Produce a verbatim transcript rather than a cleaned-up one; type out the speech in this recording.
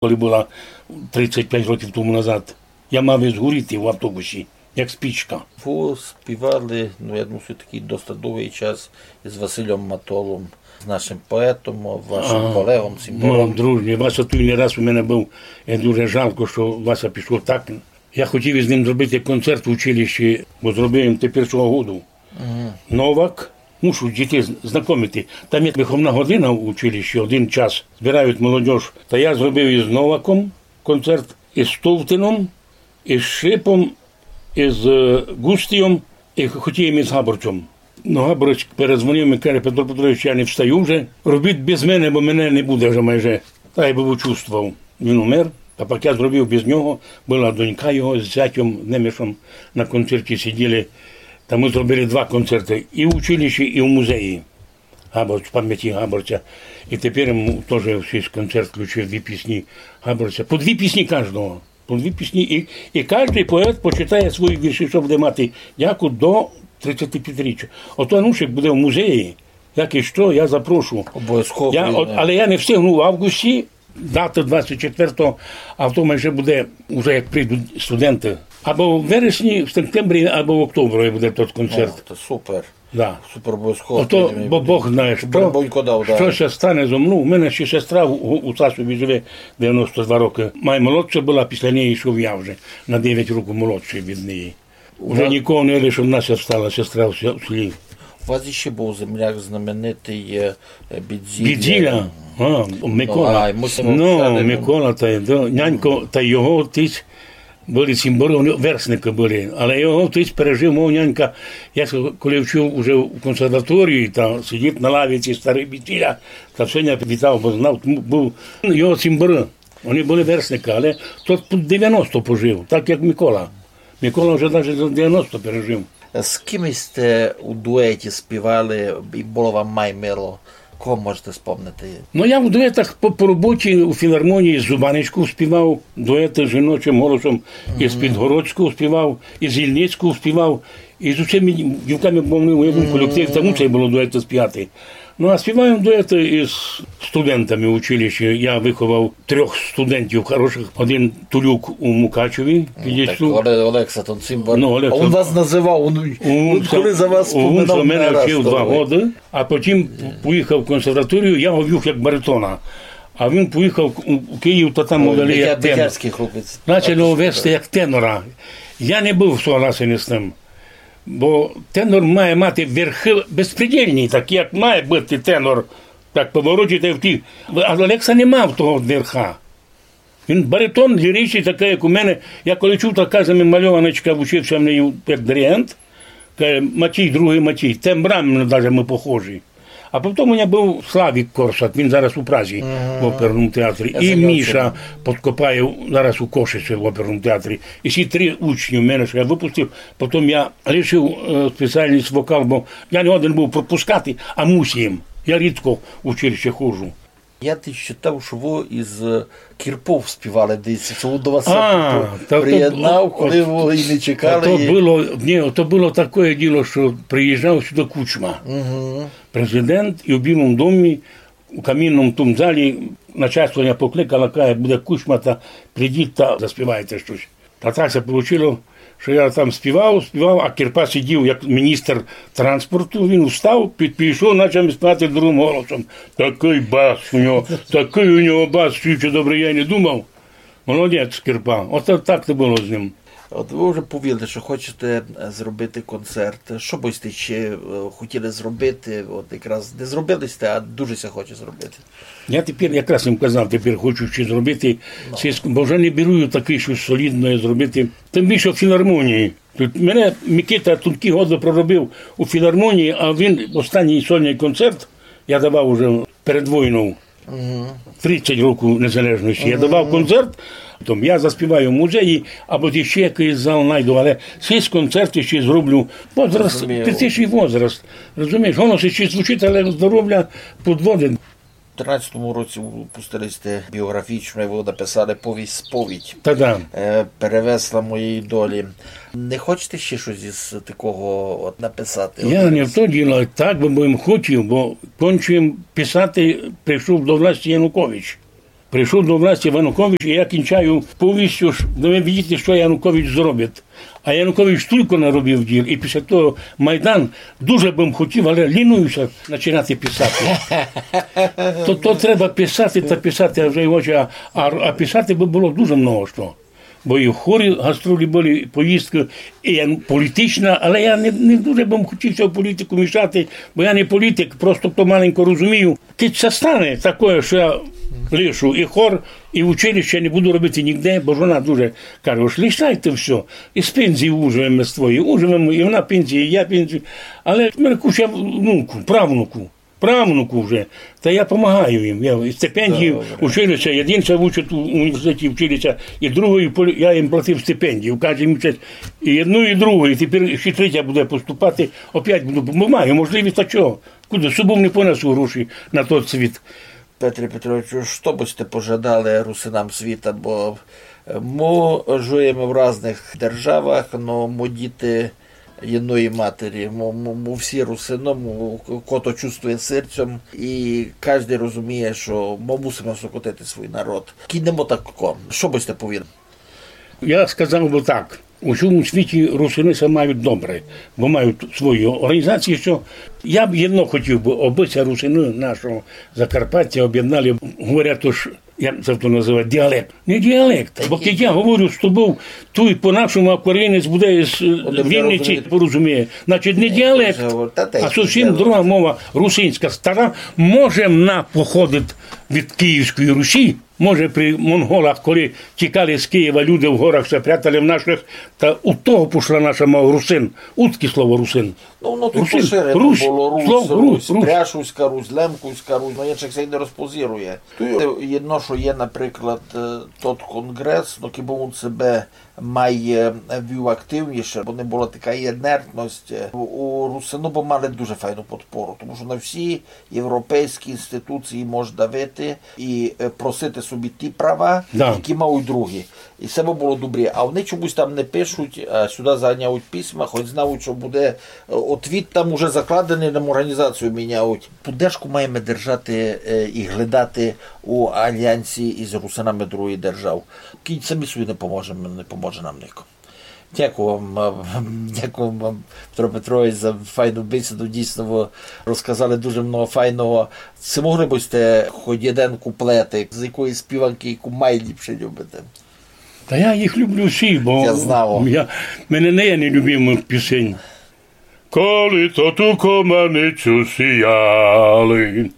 коли была тридцять пять років тому назад. Я мав і згоріти в автобусі, як спичка. Вы співали, ну, я думаю, всьо-таки доста довгый час із Василем Матолом, з нашим поетом, вашим А, колегом, символом. Мой друже, Вася туй не раз у мене быв. І дуже жалко, што Вася пішов так. Я хотів із ним зробити концерт в училищі, бо зробив їм тепер свого году. Мгм. Новак, мушу дітей з-, знакомити. Там є виховна година в училищі, один час збирають молодіж. Та я зробив із Новаком концерт, із Стовтином, із Шипом, із, е, Густієм, і хотів із Габорцем. Ну, Габорець перезвонив мені, каже: «Петро Петрович, я не встаю вже. Робіть без мене, бо мене не буде вже майже». Та я быв учувствовав. Він умер, а пак я зробив без нього, была донька його з зятьом Немешом на концерті сиділи. Та мы зробили два концерты, і в училищі, і в музеї. Габорць, в памяти Габорця. І тепер йому тоже в свій концерт включив дві пісні Габорця. По дві пісні каждого. По дві пісні. І, і каждый поет почитає свої вірші, што буде мати дяку до тридцятипятиріччя. Ото Анушик буде в музеї, як і што, я запрошу. Обовязково. Я, от, але я не встигну в августі, дати двадцять четвертого, а в тому вже буде, уже як прийдуть студенты. Або в вересні, в сентябрі, або в октябрі буде тот концерт. О, то супер. Да. Супер, обовязково. Ото, бо Бог знає, што, што ся стане зо мнов. У мене ще сестра у, у, у Сасові живе, девяносто два рокы. Май молодша была, після неї йшов я вже, на девять років молодший від неї. Уже нікого не лише, одна ся стала сестра в ся-, в селі. У вас іщи быв земляк знаменитый, е, е, Бідзіля. Бідзіля? А, Микола. Ну, а, мусимо згадати. Микола, та, да, нянько, та його отець были цімборы, они верстникы были. Але його отець пережив, мого нянька, я с-, коли вчив уже в консерваторії, та сидить на лавиці старый Бідзіля, та всьо ня вітав, бо знав, тому быв його цімборы. Они были верстникы, але тот тут девяносто пожив, так як Микола. Микола вже даже за девяносто пережив. З ким сьте у дуеті співали і было вам май мило? Кого можете спомнити? Ну, я в дуетах по, по роботі у філармонії з Зубанечков співав, дуеты жіночим голосом, із Підгородськов співав, із Ільницьков співав, і з усіма дівками, бо вони у одному колективі, там у цей было дуеты співати. Ну, а співаєм дуеты із студентами в училищі. Я выховав трьох студентів хорошых. Один Тулюк у Мукачеві, підійшов. Оле-, Олекса, тот цімбор. Ну, Олекса. А він вас называв, він, він коли за вас споминав, він за мене вчив два годы, а потім поїхав в консерваторію, я го вів як баритона. А він поїхав у, у Київ, та там му дали як тенор. Начали го вести як тенора. Я не быв согласен із тым. Бо тенор має мати верхы безпредельні, такі, як має быти тенор, так повороті та й в ті. А Олекса не мав того верха. Він баритон ліричный, такый, як у мене. Я коли чув, така замальованочка, вчив ся в неї як диригент, каже: «Матій, другый Матій, тембрами даже мы похожі». А потім у мене быв Славік Корсак, він зараз у Празі в оперному театрі. І Міша Подкопаєв зараз у Кошиці в оперному театрі. І ці три учні в мене, што я выпустив, потім я лишив, е, спеціальность вокал, бо я не годен быв пропускати, а мусив. Я рідко в училище ходжу. Я десь читав, што вы із Кірпов співали десь, што він до вас приєднав, коли вы і не чекали. А, та то, та то было, ні, то было такоє діло, што приїжджав сюды Кучма. Президент, і в Білому домі, у камінному тому залі, начальство ня покликало, каже: «Буде Кучма, та прийдіть та заспівайте штось». Та так ся получило, што я там співав, співав, а Кірпа сидів як міністр транспорту, він встав, під-, підійшов, начав ми співати другым голосом. Такый бас у нього, такый у нього бас, чуючи добре, я й не думав. Молодець, Кірпа. От так то было з ним. От вы вже повіли, што хочете, е, зробити концерт. Што бы сьте іщи, е, хотіли зробити? От якраз не зробили сьте, а дуже ся хоче зробити. Я тепер якраз їм казав, тепер хочу іщи зробити, сільську, бо вже не беру такоє штось солідноє зробити. Тым більше в філармонії. Тут мене Микита тонкі годы проробив у філармонії, а він останній сольный концерт я давав уже перед войнов. Тридцять років незалежности. Я давав концерт, там я заспіваю в музеї, або іщи якыйсь зал найду, але сись концерт іщи зроблю. Возраст, пятдесятий возраст. Розумієш, воно ся іщи звучить, але здоровля подводить. У тринадцятому році выпустили сьте біоґрафічну, вы написали повість «Сповідь». Та да. Е, «Перевесла моєї долі». Не хочете іщи штось із такого от написати? Я не в то діло, так бы, бы им хотів, бо кончив им писати, прийшов до власти Янукович. Прийшов до власти Янукович, і я кінчаю повістю, ож давай видіти, што Янукович зробить. А Янукович тілько наробив діл, і після того Майдан, дуже бым хотів, але ліную ся починати писати. То, то треба писати та писати, а вже й очі, а, а, а писати бы было дуже много што. Бо і в хорі гастролі были, і поїздкы, і я, політична, але я не, не дуже бым хотів ся в політику мішати, бо я не політик, просто то маленько розумію. Кидь ся стане такоє, што я лишу і хор, і училище, не буду робити нігде, бо жона дуже каже: «Ож лишайте всьо, і з пензії уживеме з твоєї, уживеме, і вона пензію, і я пензію». Але в мене куча внуку, правнуку, правнуку вже. Та я помагаю їм. Я і стипендію, училище, єден ся учить у університеті, училище, і другий полі-, я їм платив стипендію кожен місяць. І одну, і другу, і тепер ще третя буде поступати, опять буду, бо маю можливість, та чого? Куды? Собов не понесу гроші на тот світ. Петре Петровичу, што бы сьте пожадали русинам світа? Бо, е, мы жиєме в разных державах, но мы діти єдної матері. Мы, мы, мы всі русины, мы, ко то чувствує серцем, і каждый розуміє, што мы мусиме сокотити свій народ. Кинемо так ко. Што бы сьте повіли? Я сказав бы так. У сьому світі русины ся мають добре, бо мають свої орґанізації, што я б єдно хотів бы, обы ся русины нашого Закарпаття обєднали. Говорять, ож, як ся то называє, діалект. Не діалект, бо кидь я говорю з тобов, туй по-нашому, а корінець буде з, е, Вінниці, порозуміє. Значить, не діалект, а зовсім друга мова, русинська, стара, може, вона походить від Київської Русі, може, при монголах, коли тікали з Києва люди в горах, ся прятали в наших, та у того пошла наша мова русин. Удкі слово русин? Ну, воно тут поширене было: Русь, Русь, Пряшівська Русь, Лемківська Русь, ну, іншых ся й не розпозірує. Туй єдно, што є, наприклад, е, тот конґрес, ну, кибы вун себе май, е, вів активніше, бо не была така інертность. Е, у русины бы мали дуже файну подпору, тому што на всі європейські інституції мож давити і, е, просити собі ті права, які мають другі. І се бы было добрі. А они чомусь там не пишуть, а сюды заганяють письма, хоть знають, што буде, е, отвіт там уже закладеный, нам орґанізацію міняють. Поддержку маєме держати, е, і глядати у альянсі із русинами других держав. Кидь самі собі не поможеме, не поможе нам нико. Дякую вам, е, дякую вам, Петро Петрович, за файну бесіду. Дійсно, вы розказали дуже много файного. Ци могли бы сьте хоть єден куплетик з якоїсь співанкы, яку майліпше любите? Та я їх люблю всі, бо я, в мене не є нелюбимых пісень. Коли то ту команицю сіяли,